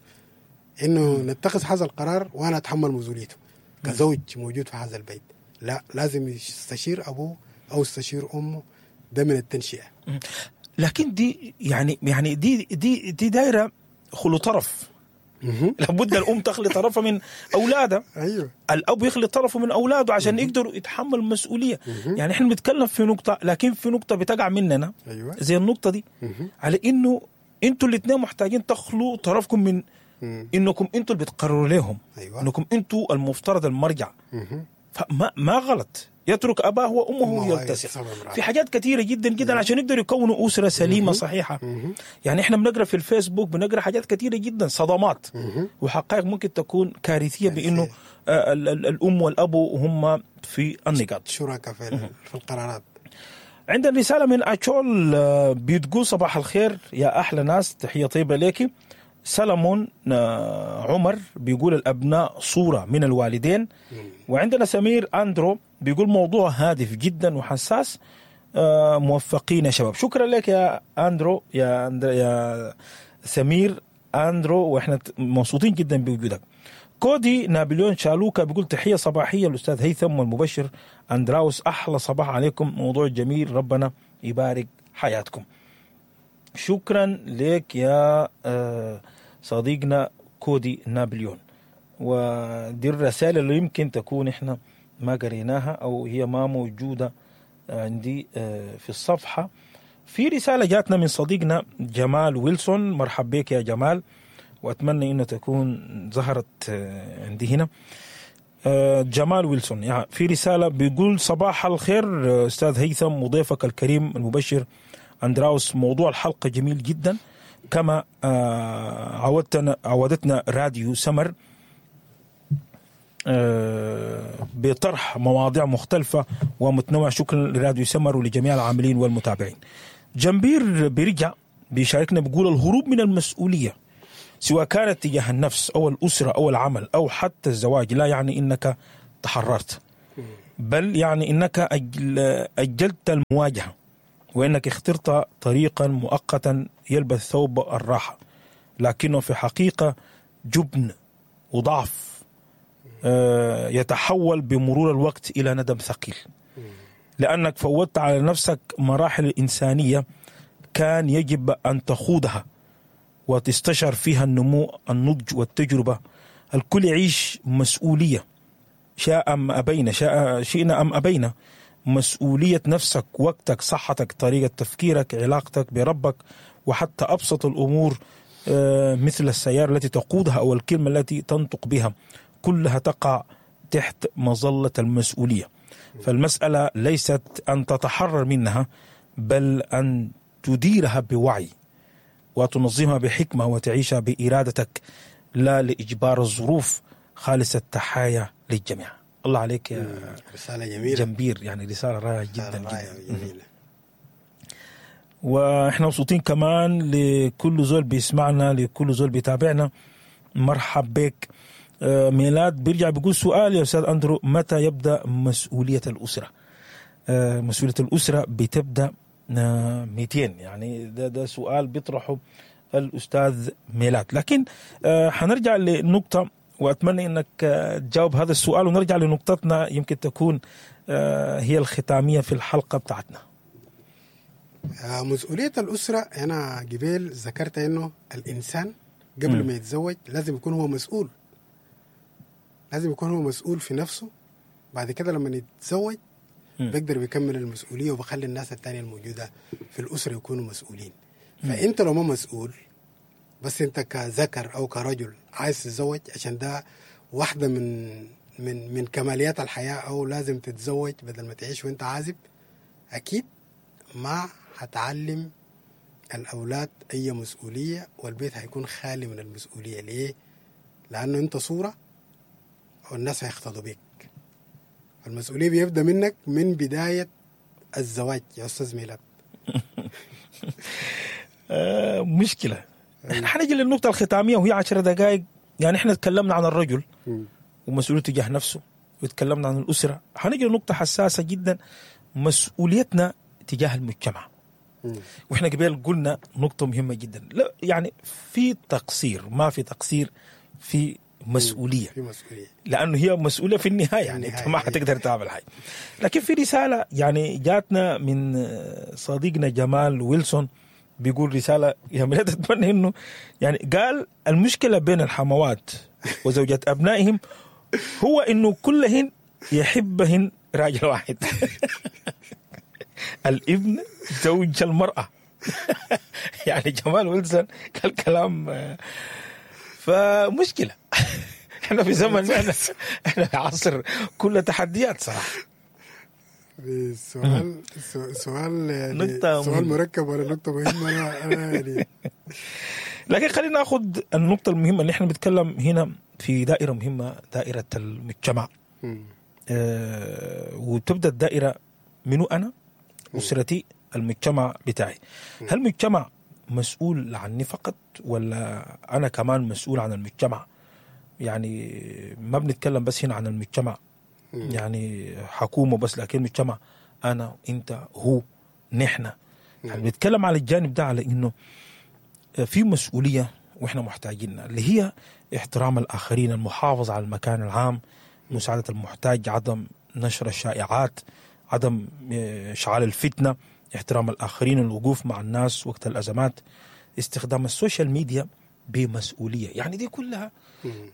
انه نتخذ هذا القرار وانا اتحمل مسؤوليته كزوج موجود في هذا البيت. لا، لازم يستشير ابوه او يستشير امه. ده من التنشئه. لكن دي يعني دي دي دي دايرة خلو طرف. لابد الام تخلي طرفها من اولادها. ايوه، الاب يخلي طرفه من اولاده عشان يقدروا يتحملوا المسؤولية. يعني احنا بنتكلم في نقطة، لكن في نقطة بتقع مننا. أيوة. زي النقطة دي، على انه انتوا الاثنين محتاجين تخلوا طرفكم من انكم انتوا اللي بتقرروا لهم. أيوة. انكم انتوا المفترض المرجع. فما ما غلط يترك اباه وامه ويلتصق في حاجات كثيرة جدا جدا عشان يقدروا يكونوا اسره سليمة صحيحه. يعني احنا بنقرا في الفيسبوك، بنقرا حاجات كثيرة جدا، صدمات وحقائق ممكن تكون كارثية بانه الام والاب هم في النقاط شركاء في القرارات. عندنا رسالة من اتشول بتقول صباح الخير يا احلى ناس، تحية طيبة ليكي. سلمون عمر بيقول الأبناء صورة من الوالدين. وعندنا سمير أندرو بيقول موضوع هادف جدا وحساس، موفقين يا شباب. شكرا لك يا أندرو، يا سمير أندرو، وإحنا مبسوطين جدا بوجودك. كودي نابليون شالوكا بيقول تحية صباحية الأستاذ هيثم والمبشر أندراوس، أحلى صباح عليكم، موضوع جميل، ربنا يبارك حياتكم. شكرا لك يا صديقنا كودي نابليون. ودي الرسالة اللي يمكن تكون احنا ما قريناها او هي ما موجودة عندي في الصفحة. في رسالة جاتنا من صديقنا جمال ويلسون، مرحب بك يا جمال، واتمنى انه تكون ظهرت عندي هنا. جمال ويلسون يعني في رسالة بيقول صباح الخير أستاذ هيثم وضيفك الكريم المبشر أندراوس، موضوع الحلقة جميل جدا كما عودتنا راديو سمر بطرح مواضيع مختلفة ومتنوعة. شكرا لراديو سمر ولجميع العاملين والمتابعين. جنبير بيرجع بيشاركنا بيقول الهروب من المسؤولية سواء كانت تجاه النفس أو الأسرة أو العمل أو حتى الزواج لا يعني إنك تحررت. بل يعني انك اجلت المواجهة، وانك اخترت طريقا مؤقتا يلبس ثوب الراحة، لكنه في حقيقة جبن وضعف يتحول بمرور الوقت الى ندم ثقيل، لانك فوتت على نفسك مراحل الانسانية كان يجب ان تخوضها وتستشعر فيها النمو، النضج والتجربة. الكل يعيش مسؤولية، شاء ام ابينا، شئنا ام ابينا، مسؤولية نفسك، وقتك، صحتك، طريقه تفكيرك، علاقتك بربك، وحتى ابسط الامور مثل السيارة التي تقودها او الكلمة التي تنطق بها، كلها تقع تحت مظلة المسؤولية. فالمسالة ليست ان تتحرر منها، بل ان تديرها بوعي وتنظمها بحكمه وتعيشها بارادتك، لا لاجبار الظروف. خالص التحايا للجميع. الله عليك يا رسالة جميلة جمبير، يعني رسالة رائعة جدا رائعة جدا. جميلة. واحنا مبسوطين كمان لكل زول بيسمعنا، لكل زول بيتابعنا، مرحب بك. ميلاد بيرجع بيقول سؤال يا استاذ اندرو، متى يبدا مسؤولية الاسرة؟ مسؤولية الاسرة بتبدا 200، يعني ده سؤال بيطرحه الاستاذ ميلاد. لكن حنرجع لنقطة، واتمنى انك تجاوب هذا السؤال، ونرجع لنقطتنا يمكن تكون هي الختامية في الحلقة بتاعتنا. مسؤولية الأسرة، أنا قبل ذكرت إنه الإنسان قبل ما يتزوج لازم يكون هو مسؤول، لازم يكون هو مسؤول في نفسه. بعد كده لما يتزوج بيقدر بيكمل المسؤولية وبخلي الناس التانية الموجودة في الأسرة يكونوا مسؤولين. فأنت لو ما مسؤول، بس أنت كذكر أو كرجل عايز تتزوج عشان ده واحدة من من من كماليات الحياة، أو لازم تتزوج بدل ما تعيش وأنت عازب، أكيد ما هتعلم الأولاد أي مسؤولية، والبيت هيكون خالي من المسؤولية. ليه؟ لأنه أنت صورة والناس هيقتدوا بيك. المسؤولية بيبدأ منك من بداية الزواج يا أستاذ ميلاد. مشكلة. احنا حنجي للنقطة الختامية وهي 10 دقائق. يعني احنا تكلمنا عن الرجل ومسؤوليته تجاه نفسه، وتكلمنا عن الأسرة. حنجي لنقطة حساسة جدا، مسؤوليتنا تجاه المجتمع. واحنا قبل قلنا نقطة مهمة جدا، لا يعني في تقصير، ما في تقصير، في مسؤولية، في مسؤولية، لأنه هي مسؤولية في النهاية، يعني أنت ما حتقدر تعمل حاجة. لكن في رسالة يعني جاتنا من صديقنا جمال ويلسون، بيقول رسالة يا ميلاد أتمنى إنه يعني قال المشكلة بين الحموات وزوجات أبنائهم هو إنه كلهن يحبهن راجل واحد. الابن زوج المرأة. يعني جمال ويلسون قال كلام، فمشكلة. احنا في زمن، احنا في عصر كله تحديات صراحة. سؤال سؤال يعني سؤال مركب ولا نقطة مهمة؟ أنا يعني لكن خلينا ناخذ النقطة المهمة اللي احنا بنتكلم هنا في دائرة مهمة، دائرة المجتمع. وتبدأ الدائرة منو أنا، أسرتي، المجتمع بتاعي. هل المجتمع مسؤول عني فقط، ولا أنا كمان مسؤول عن المجتمع؟ يعني ما بنتكلم بس هنا عن المجتمع يعني حكومة بس، لكن المجتمع أنا، أنت، هو، نحن. يعني بنتكلم على الجانب ده، على إنه في مسؤولية وإحنا محتاجينها، اللي هي احترام الآخرين، المحافظة على المكان العام، مساعدة المحتاج، عدم نشر الشائعات، عدم إشعال الفتنة، احترام الآخرين، الوقوف مع الناس وقت الأزمات، استخدام ال social media بمسؤولية. يعني دي كلها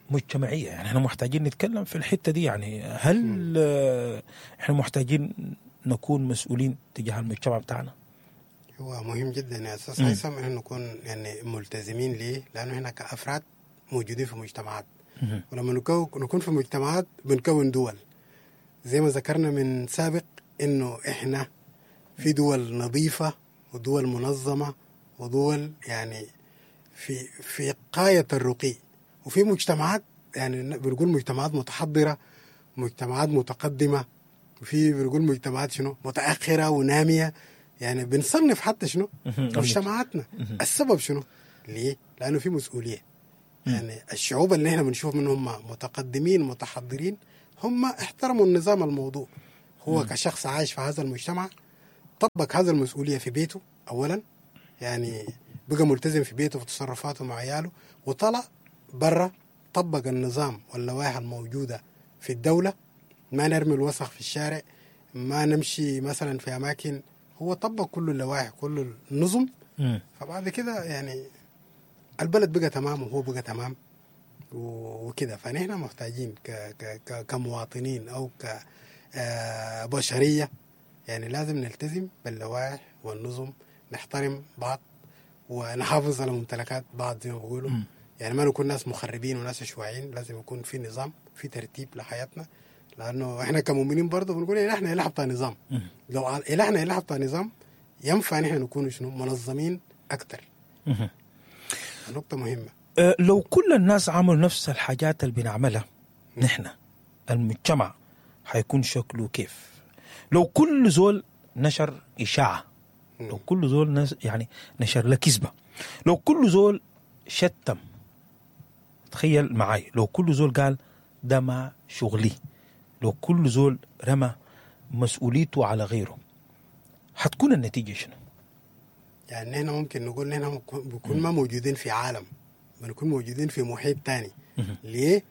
مجتمعية. يعني احنا محتاجين نتكلم في الحتة دي. يعني هل احنا محتاجين نكون مسؤولين تجاه المجتمع بتاعنا؟ هو مهم جدا يا أستاذ هيثم إنه نكون يعني ملتزمين. ليه؟ لأنه احنا كأفراد موجودين في مجتمعات، ولما نكون في مجتمعات بنكون دول. زي ما ذكرنا من سابق إنه إحنا في دول نظيفة ودول منظمة ودول يعني في غاية الرقي، وفي مجتمعات يعني بنقول مجتمعات متحضرة، مجتمعات متقدمة، وفي بنقول مجتمعات شنو متأخرة ونامية. يعني بنصنف حتى شنو مجتمعاتنا. السبب شنو؟ ليه؟ لأنه في مسؤولية. يعني الشعوب اللي احنا بنشوف منهم متقدمين متحضرين هم احترموا النظام الموضوع. هو كشخص عايش في هذا المجتمع طبق هذا المسؤولية في بيته اولا، يعني بقى ملتزم في بيته في تصرفاته مع عياله، وطلع برا طبق النظام واللوائح الموجودة في الدولة، ما نرمي الوسخ في الشارع، ما نمشي مثلا في اماكن، هو طبق كل اللوائح كل النظم. فبعد كده يعني البلد بقى تمام وهو بقى تمام وكده. فنحن محتاجين كمواطنين او كبشريه يعني لازم نلتزم باللوائح والنظم، نحترم بعض ونحافظ على ممتلكات بعض زي ما بيقولوا. يعني ما نكون ناس مخربين وناس عشوائيين، لازم يكون في نظام، في ترتيب لحياتنا، لانه احنا كمؤمنين برضه بنقول إن احنا إله بتاع نظام. لو إلهنا إله بتاع نظام ينفع نحن نكون شنو منظمين اكثر. نقطة مهمة. لو كل الناس عملوا نفس الحاجات اللي بنعملها نحن، المجتمع حيكون شكله كيف؟ لو كل زول نشر إشاعة، لو كل زول يعني نشر له كذبة، لو كل زول شتم، تخيل معي لو كل زول قال ده ما شغلي، لو كل زول رمى مسؤوليته على غيره، حتكون النتيجة شنو؟ يعني نحن ممكن نقول نحن بنكون ما موجودين في عالم، بنكون موجودين في محيط تاني. ليه؟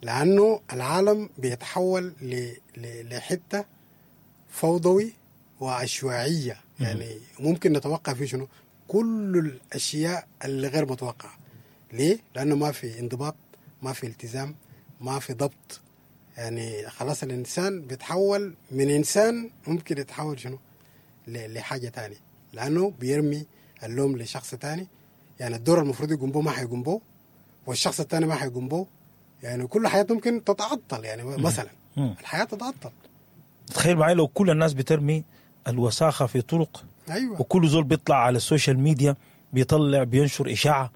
لأنه العالم بيتحول لحتة فوضوي وعشوائية. يعني ممكن نتوقع فيه شنو؟ كل الأشياء اللي غير متوقعة. ليه؟ لأنه ما في انضباط، ما في التزام، ما في ضبط. يعني خلاص الإنسان بيتحول من إنسان ممكن يتحول شنو؟ لحاجة تانية، لأنه بيرمي اللوم لشخص تاني. يعني الدور المفروض يقوم به ما حيقوم به، والشخص التاني ما حيقوم به. يعني كل حياته ممكن تتعطل. يعني مثلا الحياة تتعطل. تخيل معي لو كل الناس بترمي الوساخة في طرق، أيوة. وكل زول بيطلع على ال social media بيطلع بينشر إشاعة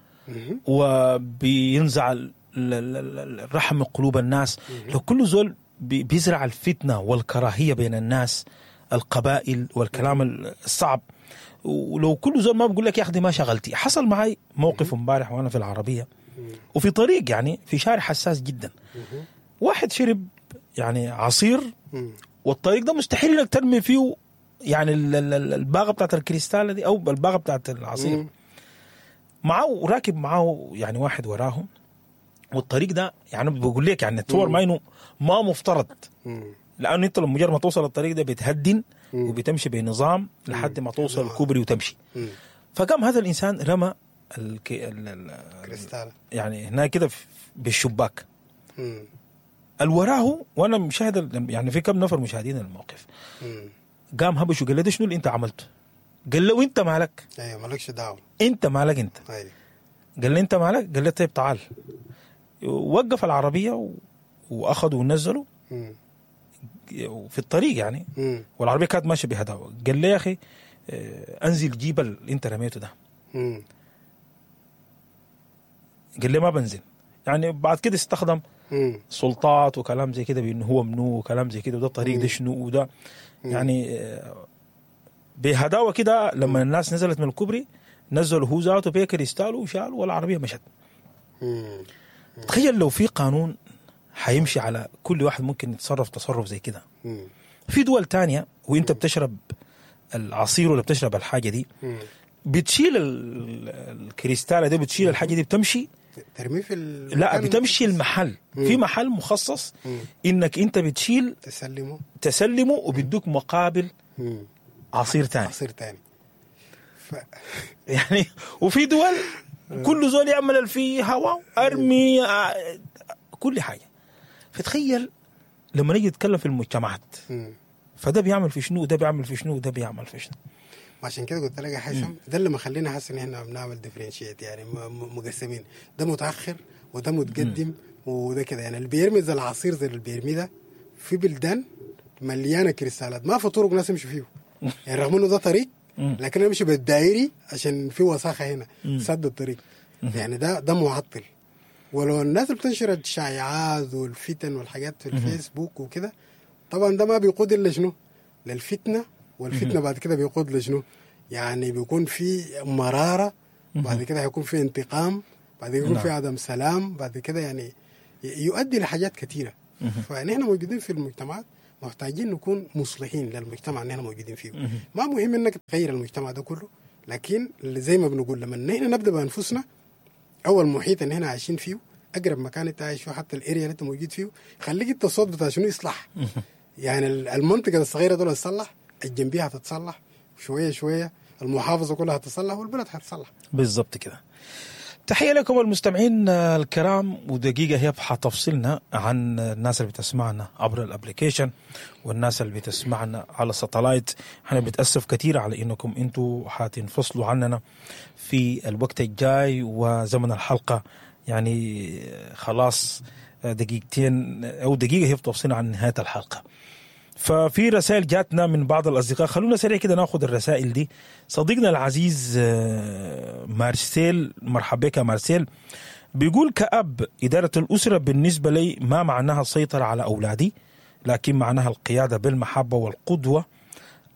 وبينزع الرحم من قلوب الناس. لو كل زول بيزرع الفتنة والكراهية بين الناس، القبائل والكلام الصعب، ولو كل زول ما بقول لك يا أخي ما شغلتي. حصل معي موقف امبارح وأنا في العربية وفي طريق، يعني في شارع حساس جدا، واحد شرب يعني عصير، والطريق ده مستحيل انك ترمي فيه يعني الباغة بتاعت الكريستالة دي أو الباغة بتاعت العصير. معه راكب معه يعني واحد وراهم، والطريق ده يعني بقول لك يعني تصور ما انه ما مفترض، لانه انت لما مجرد ما توصل الطريق ده بتهدن وبتمشي بنظام لحد ما توصل الكوبري وتمشي. فقام هذا الانسان رمى الكريستالة يعني هناك كده بالشباك الوراه، وانا مشاهد يعني في كم نفر مشاهدين الموقف. قام هبش وقال له ده شنو اللي انت عملته؟ قال له انت مالك؟ ايوه مالكش دعوه، انت مالك انت. ايوه قال لي انت مالك؟ قال لي طيب تعال. وقف العربية واخذوا ونزلوا في الطريق يعني، والعربية كانت ماشية بهداوه. قال لي يا اخي انزل جيب اللي انت رميته ده. قال لي ما بنزل. يعني بعد كده استخدم سلطات وكلام زي كده بانه هو منو وكلام زي كده، وده الطريق ده شنو وده يعني بهداوه كده. لما الناس نزلت من الكوبري نزلوا هو ذاته بكريستال وشالوا والعربية مشت. تخيل لو في قانون حيمشي على كل واحد ممكن يتصرف تصرف زي كده. في دول تانية وانت بتشرب العصير ولا بتشرب الحاجة دي بتشيل الكريستالة دي، بتشيل الحاجة دي، بتمشي ترمي في لا بتمشي المحل. في محل مخصص انك انت بتشيل تسلمه وبيدوك مقابل عصير تاني، عصير تاني. يعني وفي دول كل زول يعمل في هواء ارمي كل حاجة. فتخيل لما نيجي نتكلم في المجتمعات، فده بيعمل في شنو وده بيعمل في شنو وده بيعمل في شنو. عشان كده قلت لك يا حسن ده اللي مخلينا حاسس ان احنا بنعمل differentiate، يعني مقسمين، ده متاخر وده متقدم وده كده. يعني اللي بيرمي زي العصير زي اللي بيرمي ده في بلدان مليانة كريستالات ما في طرق ناس يمشوا فيه، يعني رغم انه ده طريق لكن انا امشي بالدائري عشان في وساخة هنا سد الطريق. يعني ده معطل. ولو الناس اللي بتنشر الشائعات والفتن والحاجات في الفيسبوك وكده، طبعا ده ما بيقود الا شنو؟ للفتنة. والفتنة بعد كده بيقود لشنو؟ يعني بيكون في مرارة، بعد كده هيكون في انتقام، بعد كده يكون في عدم سلام، بعد كده يعني يؤدي لحاجات كثيرة. فنحن موجودين في المجتمعات محتاجين نكون مصلحين للمجتمع اللي احنا موجودين فيه. ما مهم انك تغير المجتمع ده كله، لكن زي ما بنقول لما نحن نبدا بانفسنا او المحيط اللي احنا عايشين فيه، اقرب مكان انت عايش فيه، حتى ال area اللي انت موجود فيه، خليك انت الصوت بتاع شنو يصلح. يعني المنطقة الصغيرة دول تصلح، الجنبيه هتتصلح شوية شوية، المحافظة كلها هتتصلح، والبلد هتتصلح. بالضبط كده. تحية لكم المستمعين الكرام، ودقيقة هي حتفصلنا عن الناس اللي بتسمعنا عبر ال application والناس اللي بتسمعنا على ال satellite. احنا بنتأسف كثير على انكم انتوا حتنفصلوا عننا في الوقت الجاي وزمن الحلقة، يعني خلاص دقيقتين او دقيقة هي بتفصلنا عن نهاية الحلقة. ففي رسائل جاتنا من بعض الأصدقاء، خلونا سريع كده ناخذ الرسائل دي. صديقنا العزيز مارسيل، مرحبا بك يا مارسيل، بيقول كأب إدارة الأسرة بالنسبة لي ما معناها السيطرة على أولادي، لكن معناها القيادة بالمحبة والقدوة.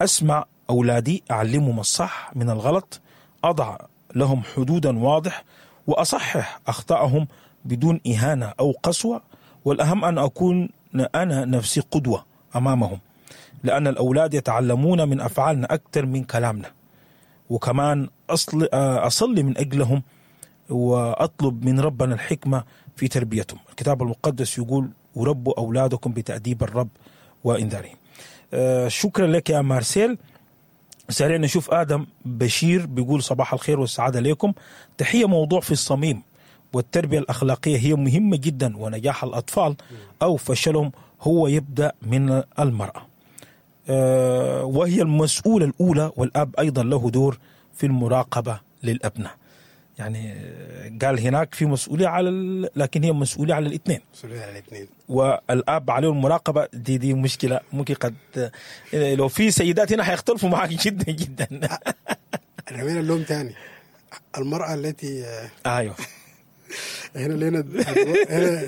أسمع أولادي، أعلمهم الصح من الغلط، أضع لهم حدودا واضح، وأصحح أخطائهم بدون إهانة أو قسوة، والأهم أن أكون أنا نفسي قدوة أمامهم، لأن الأولاد يتعلمون من أفعالنا أكثر من كلامنا. وكمان أصلي من أجلهم وأطلب من ربنا الحكمة في تربيتهم. الكتاب المقدس يقول وربوا أولادكم بتأديب الرب وإنذارهم. شكرا لك يا مارسيل. سريع نشوف آدم بشير بيقول صباح الخير والسعادة لكم، تحية. موضوع في الصميم، والتربية الأخلاقية هي مهمة جدا، ونجاح الأطفال أو فشلهم هو يبدأ من المرأة، وهي المسؤولة الأولى، والأب أيضا له دور في المراقبة للأبناء. يعني قال هناك في مسؤولية على لكن هي مسؤولية على الاثنين، مسؤولية على الاثنين، والأب عليه المراقبة. دي مشكلة ممكن قد لو في سيدات هنا حيختلفوا معك جدا جدا. رمينا اللوم تاني، المرأة التي ايوه هنا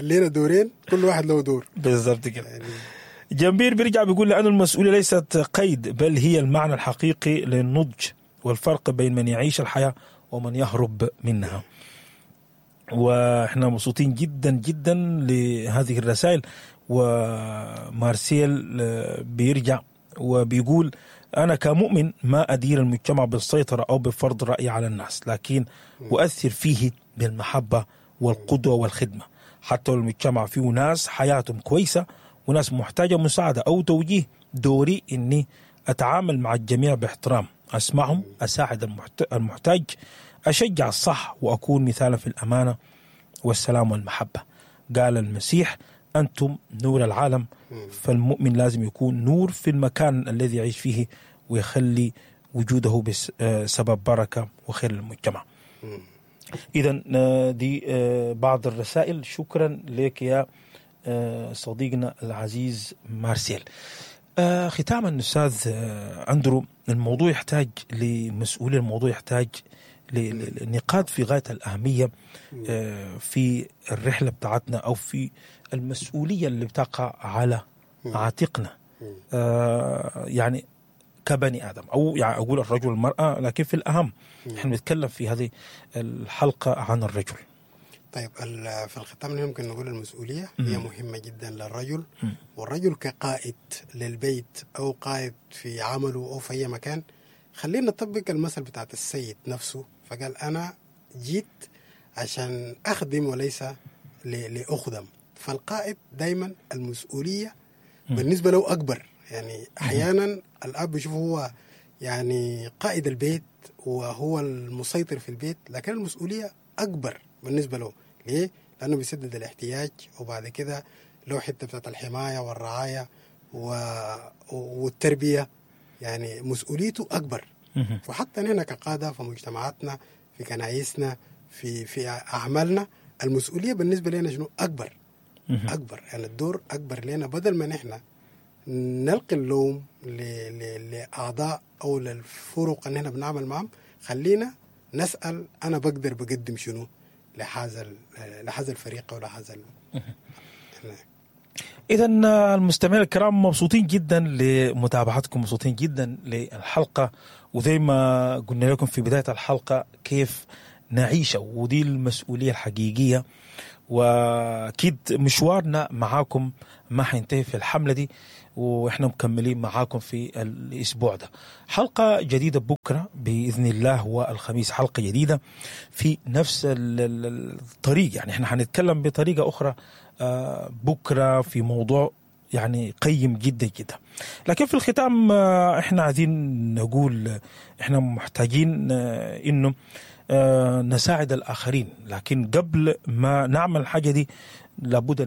لينا دورين، كل واحد له دور. بالضبط كده. يعني جنبير بيرجع بيقول لأن المسؤولية ليست قيد، بل هي المعنى الحقيقي للنضج والفرق بين من يعيش الحياة ومن يهرب منها. واحنا مبسوطين جدا جدا لهذه الرسائل. ومارسيل بيرجع وبيقول أنا كمؤمن ما أدير المجتمع بالسيطرة أو بفرض رأي على الناس، لكن أؤثر فيه بالمحبة والقدوة والخدمة. حتى لو المجتمع فيه ناس حياتهم كويسة وناس محتاجة مساعدة أو توجيه، دوري إني أتعامل مع الجميع باحترام، أسمعهم، أساعد المحتاج، أشجع الصح، وأكون مثالا في الأمانة والسلام والمحبة. قال المسيح أنتم نور العالم، فالمؤمن لازم يكون نور في المكان الذي يعيش فيه ويخلي وجوده بسبب بركة وخير للمجتمع. إذا دي بعض الرسائل. شكرا لك يا صديقنا العزيز مارسيل. ختاما أستاذ أندرو، الموضوع يحتاج لمسؤولية، الموضوع يحتاج لنقاط في غاية الأهمية في الرحلة بتاعتنا أو في المسؤولية اللي بتقع على عاتقنا، يعني كبني آدم، أو يعني أقول الرجل والمرأة، لكن في الأهم نحن نتكلم في هذه الحلقة عن الرجل. طيب في الختام ممكن نقول المسؤولية هي مهمة جدا للرجل، والرجل كقائد للبيت أو قائد في عمله أو في أي مكان. خلينا نطبق المثل بتاعت السيد نفسه، فقال أنا جيت عشان أخدم وليس لأخدم. فالقائد دايما المسؤولية بالنسبة له أكبر. يعني أحيانا الأب يشوف هو يعني قائد البيت وهو المسيطر في البيت، لكن المسؤولية أكبر بالنسبة له. ليه؟ لأنه بيسدد الاحتياج، وبعد كده له حتة بتاعت الحماية والرعاية والتربية، يعني مسؤوليته أكبر. وحتى هنا كقادة في مجتمعاتنا، في كنايسنا، في أعمالنا، المسؤولية بالنسبة لنا شنو؟ أكبر. أكبر، يعني الدور أكبر لنا. بدل ما نحن نلقي اللوم لأعضاء أو للفرق اللي نحن بنعمل معهم، خلينا نسأل أنا بقدر بقدم شنو لهذا الفريق أو لهذا. إذا المستمعين الكرام مبسوطين جدا لمتابعتكم، مبسوطين جدا للحلقة، وزي ما قلنا لكم في بداية الحلقة كيف نعيش، ودي المسؤولية الحقيقية. واكيد مشوارنا معاكم ما حينتهي في الحملة دي، واحنا مكملين معاكم في الاسبوع ده. حلقة جديدة بكره باذن الله، والخميس حلقة جديدة في نفس الطريق. يعني احنا حنتكلم بطريقة اخرى بكره في موضوع يعني قيم جدا جدا. لكن في الختام احنا عايزين نقول احنا محتاجين انه نساعد الاخرين، لكن قبل ما نعمل الحاجة دي لابد